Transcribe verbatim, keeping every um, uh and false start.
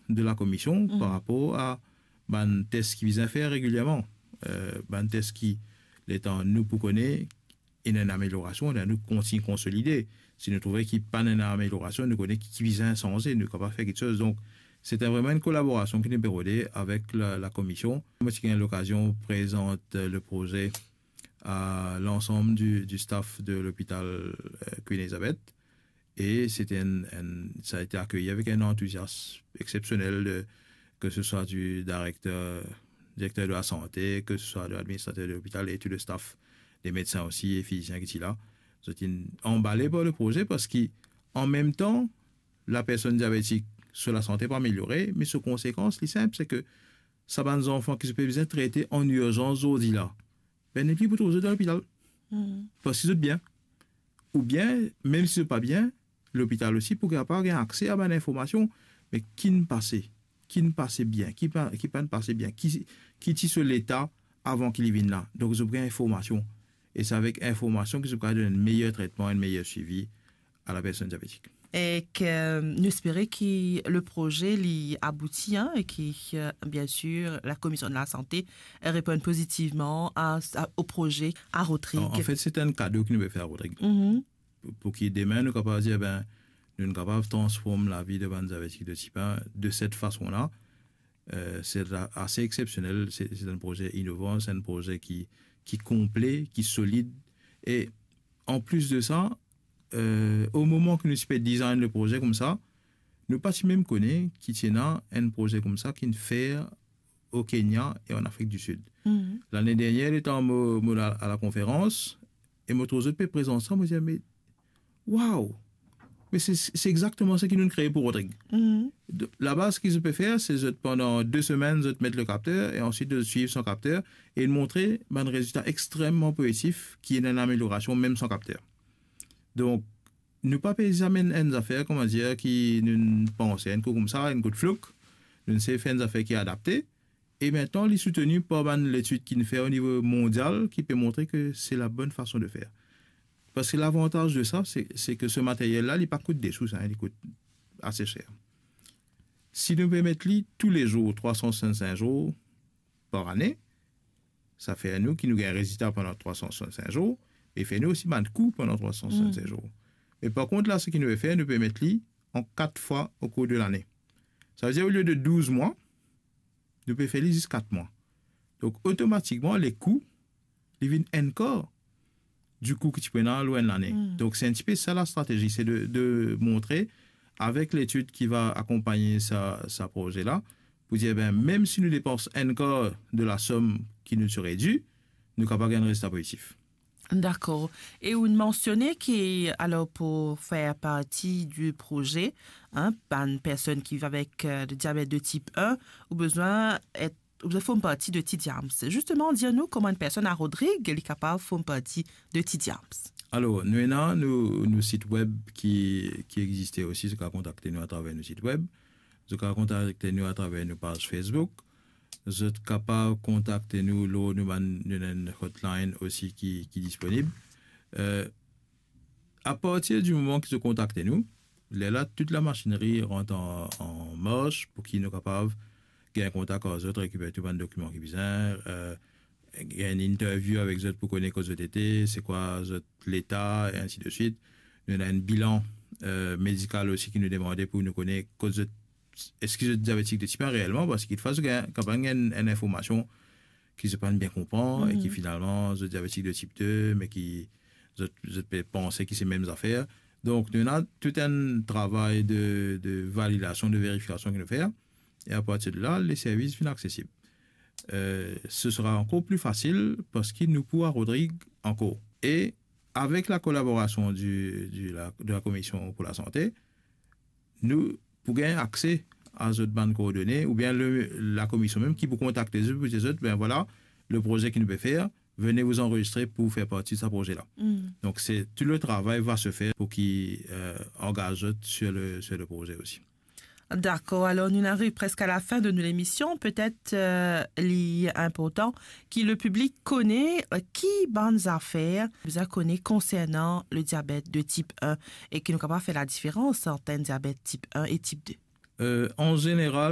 de la komision par rapor a bann tes ki bizin fer regilierman. Eh, bann tes ki, letan nou pou kone, ena enn ameliorasion, ena nou kontign konsolide. Si nou trouve ki pa'nn ena ameliorasion, nou kone ki, ki bizin sanze, nou kapav fer kiksoz. Donk, se te vreman enn kolaborasion ki nou pe rode avek la, la komision. Mo ti gagn lokazion prezant, eh, le proze a lansam di, di staff de lopital, eh, Queen Elizabeth. E se te enn, enn, sa a ete akeyi avek enn antouziasm eksepsionel de, ke se swa di direkter, direkter de la sante, ke se swa de ladministrater de lopital e tou le staff, le medsin osi e fizisien ki ti la. Zot inn anbale par le proze parski, an mem tan, lapersonn diabetik, so lasante pa ameliore, me so konsekans, li sinp, se ke sa bann zanfan ki zot pe bizin trete an irzans zordi la, be, nepli pou trouv zot dan lopital. Parski zot bien. Oubien, mem si zot pa bien, lopital osi pou kapav gagn akse a bann informasion. Me ki'nn pase? Ki'nn pase bien? Ki pa, ki pa'nn pase bien? Ki, ki ti so leta avan ki li vinn la? Donk, zot pou gagn informasion. E se avek informasion ki zot pou kapav donn enn meyer tretman, enn meyer swivi a lapersonn diabetik. Ek nou espere ki le proze li abouti, hein, e ki, euh, bien sûr, la komision de la sante reponn pozitivman a, a, o proze a Rodrig. An, an fet, se enn kado ki nou pe fer a Rodrig. Pou, pou ki demin nou kapav dir, ben, nou kapav transform lavi de bann diabetik de tip enn de set fason la. Euh, se la, ase eksepsionel, se, se enn proze inovan, se enn proze ki, ki konple, ki solid. E an plis de sa, euh, o moman ki nou ti pe design le proze koumsa, nou pa ti mem kone ki ti ena enn proze koumsa ki'nn fer o Kenya e an Afrik di Sid. Lane dernie, letan mo, mo al a, a lakonferans, e mo trouv zot pe prezant sa, mo dir, me, waw! Me se, se exakteman seki nou kree pou Rodrig. De, labaz, seki zot pe fer, se zot pandan de semenn, zot met le kapter, e answit zot swiv san kapter, e montre bann rezilta extreman pozitif, ki ena enn ameliorasion mem san kapter. Donk, nou pa pe zame enn zafer, kouma dir, ki nou panse enn kou koumsa, enn kou flouk. Nou sey fer enn zafer ki adapte. E mintnan, li souteni par bann letid ki'nn fer o nivo mondial, ki pe montre ke se la bonn fason de fer. Parski lavantaz de sa, se, se ke se materyel la, li pa kout de sous, hein, li kout ase ser. Si nou pe met li toulezour, trwa san swasann-sink zour par ane, sa fer nou ki nou gagn rezilta pandan trwa san swasann-sink zour, e fer nou osi bann kou pandan trwa san swasann-sink zour. Me par kont la, seki nou pe fer, nou pe met li an kat fwa o kour de lane. Savedir, olie de douz mwa, nou pe fer li zis kat mwa. Donk, otomatikman, lekou, li vinn enn kar di kou ki ti pou ena lor enn lane. Donk, se enn tipe sa lastratezi, se de, de montre, avek letid ki va akonpagne sa, sa proze la, pou dir, ben, mem si nou depans enn kar de lasom ki nou ti redwir, nou kapav gagn rezilta pozitif. Dakor. E ou'nn mansione ki, alor, pou fer parti di proze, hein, bann personn ki viv avek, euh, le diabet de tip enn, ou bizin et, ou bizin form parti de Ti Diams. Zisteman, dir nou kouma enn personn a Rodrig, li kapav form parti de Ti Diams. Alor, nou ena nou, nou sit web ki, ki existe osi, zot kapav kontakte nou atraver nou sit web. Zot kapav kontakte nou atraver nou paz Facebook. Zot kapav kontakte nou lor nou bann, nou ena enn hotline osi ki, ki disponib. Euh, apartir di moman ki zot kontakte nou, lerla tou lamasinri rant an, an mars pou ki nou kapav gagn kontak ar zot, rekiper tou bann dokiman ki bizin, euh, gagn enn interview avek zot pou kone kot zot ete, se kwa zot leta, e ainsi de suite. Nou ena enn bilan, euh, medikal osi ki nou demande pou nou kone kot zot, eski zot diabetik de tip enn reelman, parski kikfwa zot gagn, kapav gagn enn, enn informasion ki zot pa'nn bien konpran e ki finalman zot diabetik de tip de, me ki zot, zot pe panse ki se mem zafer. Donk, nou ena tou enn travay de, de validasion, de verifikasion ki nou fer. E apartir de la, le servis vinn aksesib. Euh, ce sera encore plus facile parski nou pou a Rodrig ankor. E avek la kolaborasion di, di la, de la Komision pou Lasante, nou pou gagn akse a zot bann koordone, oubien le, la komision mem ki pou kontakte zot pou dir zot, ben vwala, le proze ki nou pe fer, venez vous enregistrer pour faire partie de ce projet-là. Donc, c'est, tout le travail va se faire pour qu'ils, euh, engagent sur le, sur le projet aussi. Dakor, alor nou ariv preske a lafin de nou lemision. Petet, euh, li inportan ki le piblik kone, euh, ki bann zafer bizin kone konsernan le diabet de tip enn e ki nou kapav fer ladiferans ant enn diabet tip enn e tip de. Euh, an zeneral,